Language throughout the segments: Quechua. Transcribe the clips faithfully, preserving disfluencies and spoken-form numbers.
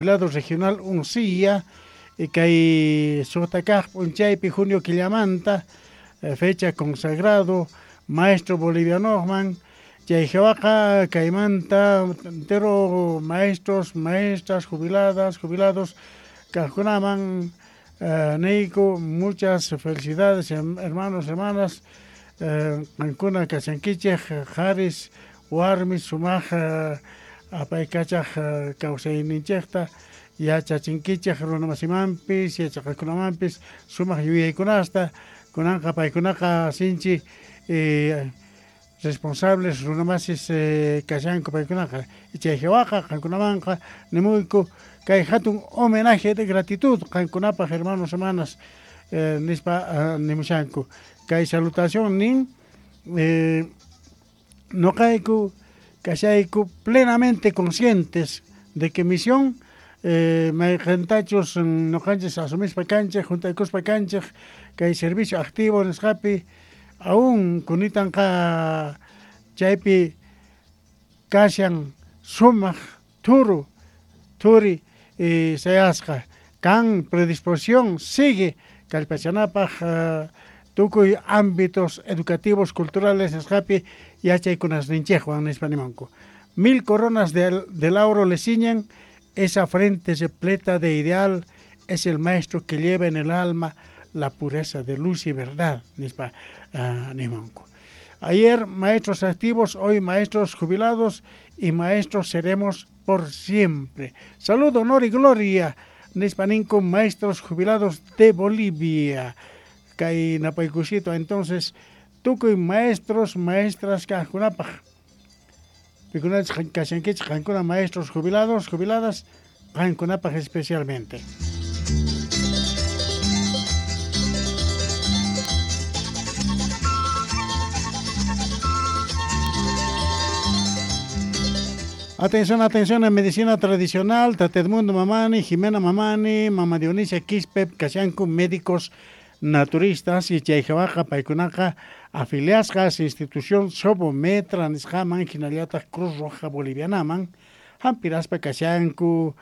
Lado regional Uncía, kay suqta kaq p'unchaypi junio killamanta, fecha consagrado maestro bolivianoman, chay hawaqa kaymanta entero maestros, maestras, jubiladas, jubilados kaqkunaman niyku muchas felicidades, hermanos, hermanas, qankuna kashankichik qharis warmis sumaq apaykachaq kawsayninchikta yachachinkichik runamasimanpis yachaqakunamanpis sumaq yuyaykunasta kunanqa paykunaqa sinchi eh, responsables runamasis eh, kashanku paykunaqa chay hawaqa qankunamanqa nimuyku kay hatun homenaje de gratitud qankunapaq hermanos, hermanas, eh, nispa uh, nimushanku kay salutación nin eh, noqayku kashayku plenamente conscientes de que misión eh, mayqintachus noqanchis asumispa kanchik juntaykuspa kanchik kay servicio activo nisqapi aún kunitanqa chaypi kashan sumaq thuru thuri eh, sayasqa kan predisposición sigue kallpachanapaq uh, tukuy ámbitos educativos culturales nisqapi yachaykunasninchikwan nispa nimanku. Mil coronas de, de lauro le ciñen, esa frente repleta de ideal es el maestro que lleva en el alma la pureza de luz y verdad, nispa uh, nimanku. Ayer maestros activos, hoy maestros jubilados y maestros seremos por siempre. Salud, honor y gloria, nispa ninku maestros jubilados de Bolivia. Kay napaykusito entonces tukuy maestros, maestras kaqkunapaq pikunachus kashankichik qankuna maestros jubilados, jubiladas qankunapaq especialmente. Atención, atención en medicina tradicional, Tata Edmundo Mamani, Jimena Mamani, Mama Dionisia Quispe, kashanku médicos naturistas y chay hawaqa paykunaqa afiliasqas institución Sobometra nisqaman hinallataq Cruz Roja Bolivianaman hampiraspa kashanku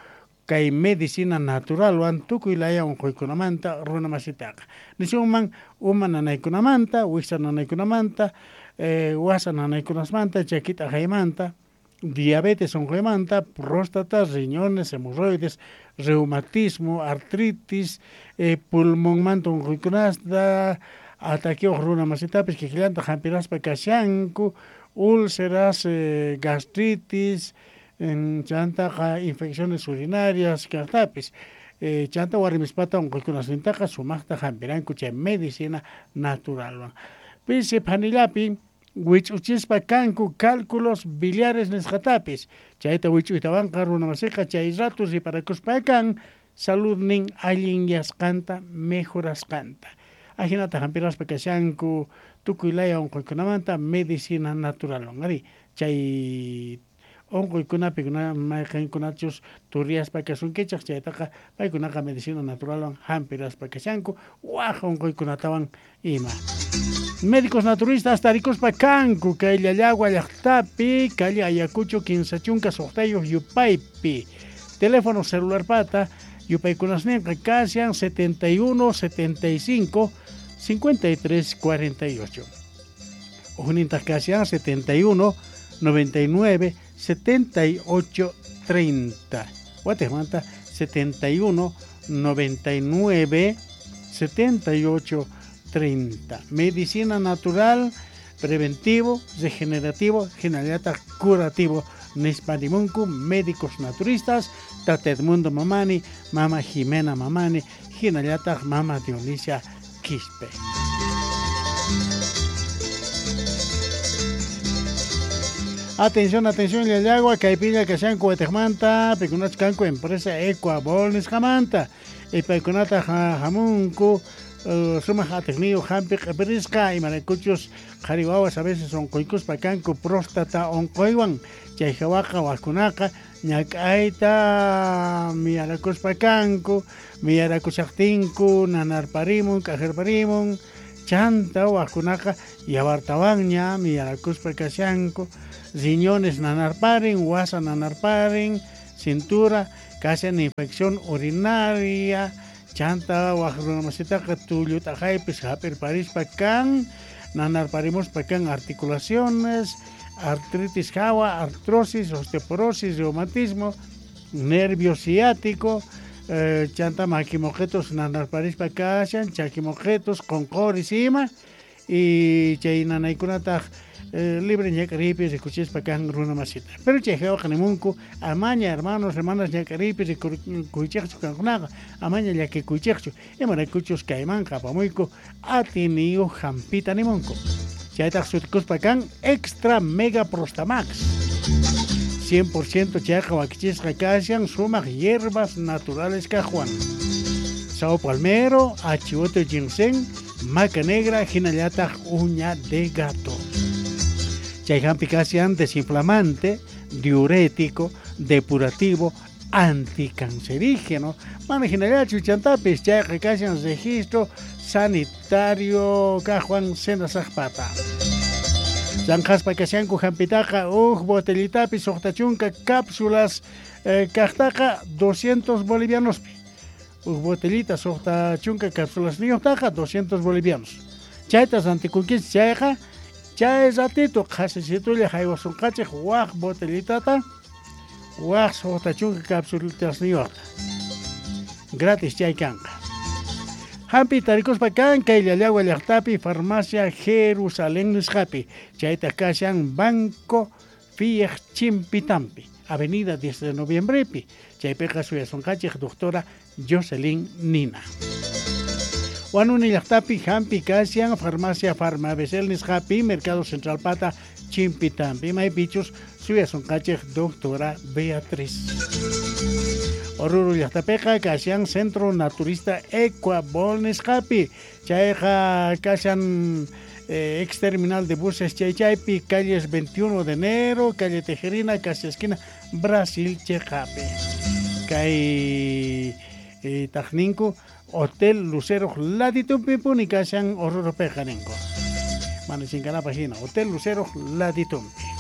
kay medicina naturalwan tukuy laya unquykunamanta runamasitaqa nisunman uma nanaykunamanta, wiksa nanaykunamanta, eh, wasa nanaykunasmanta, chakita aqaymanta, diabetes unquymanta, próstata, riñones, hemorroides, reumatismo, artritis, eh, pulmonmanta unquykunasta, ataqueos runamasitapis kikillanta hampiraspa kashanku, úlceras, eh, gastritis, chantaqa infecciones urinarias kaqtapis, eh, chanta warmispata unquykunasnintaqa sumaqta hampiranku chay medicina naturalwan. Pisi phanillapi wich'uchispa kanku cálculos biliares nisqatapis, chayta wich'uytawanqa runamasiqa chay rato riparakuspa kan saludnin allinyasqanta mejorasqanta. Ajinata hampiraspa kashanku tukuy laya unquykunamanta medicina naturalwan. Ari chay unquykunapi mayqinkunachus turiyaspa kasunkichik chaytaqa paykunaqa medicina naturalwan hampiraspa kashanku waj unquykunatawan ima. Médicos naturistas tarikuspa kanku kay Llallagua llaqtapi, calle Ayacucho kinsa chunka suqtayuq yupaypi. Teléfono celular pata yupaykunasninqa kashan setenta y uno, setenta y cinco, cincuenta y tres, cuarenta y ocho. Ujnintaq kashan setenta y uno, noventa y nueve, setenta y ocho, treinta. Watejmanta setenta y uno, noventa y nueve, setenta y ocho, treinta. Medicina natural, preventivo, regenerativo, hinallataq curativo. Nispa nimunku médicos naturistas, Tata Edmundo Mamani, Mama Jimena Mamani, hinallataq Mama Dionisia Quispe. Atención, atención, Llallagua, kaypilla kashanku watejmanta, pikunachus kanku empresa Ecuabol nisqamanta, y paykunata hamunku Uh, sumaq atiqniyuq hampi q'ipirisqa imaraykuchus qhari wawas a veces unquykuspa kanku próstata unquywan chay hawaqa wajkunaqa ñak'ayta miyarakuspa kanku miyarakushaqtinku nanarparimun k'ajarparimun chanta wajkunaqa yawartawanña miyarakuspa kashanku riñones nanarparin, wasa nanarparin, cintura. Kashan infección urinaria, chanta waq runamasitaqa tullut'aqaypis hap'irparispa kan, nanarparimuspa kan articulaciones, artritis hawa, artrosis, osteoporosis, reumatismo, nervio ciático, eh, chanta makimoqetos nanarparispa kashan, chakimoqetos, qonqoris ima, y chay nanaykunataq eh, libre ñak'ariypi rikuchispa kan runa masita. Pero chay hawaqa nimunku amaña hermanos, hermanas ñak'ariypi rikuychikchu kankunaqa, amaña llakikuychikchu, imaraykuchus kaymanqa apamuyku atiniyuq hampita nimunku. Chaytaq sutikuspa kan Extra Mega Prostamax. cien por ciento chayqa wakichisqa kashan sumaq hierbas naturales kaqwan. Sao palmero, achivote ginseng, maca negra, hinallataq uña de gato. Chay hampi kashan desinflamante, diurético, depurativo, anticancerígeno. Mana hinallachu chantapis chayqa kashan registro sanitario kaqwan senasaqpata. Zanjaspa kashanku hampitaqa uj botellitapi suqta chunka cápsulas eh, kaqtaqa doscientos bolivianospi. Uj botellita suqta chunka cápsulas niyuqtaqa doscientos bolivianos. Chayta rantikunkichik chayqa chay ratito qhasisitulla haywasunqachik waq botellitata waq suqta chunka cápsulas niyuqta. Gratis chay kanqa. Hampi tarikuspa kan kay Llallagua llaqtapi farmacia Jerusalén nisqapi. Chayta kashan Banco Fiej Chimpitampi, Avenida diez de Noviembrepi. Chaypiqa suyasunqachik doctora Jocelyn Nina. Huanuni llaqtapi hampi kashan farmacia Farmabesel nisqapi, Mercado Central Pata Chimpitampi. Maypichus suyasunqachik doctora Beatriz. Oruro llaqtapiqa kashan Centro Naturista Ecuabol nisqapi. Chayqa kashan eh, ex terminal de buses chaychaypi, calles veintiuno de enero, calle Tejerina, casi esquina Brasil cheqapi. Kay eh, taqninku Hotel Lucero Laditumpi puni kashan Orurupiqa ninku. Mana chinkanapaq hina, Hotel Lucero Laditumpi.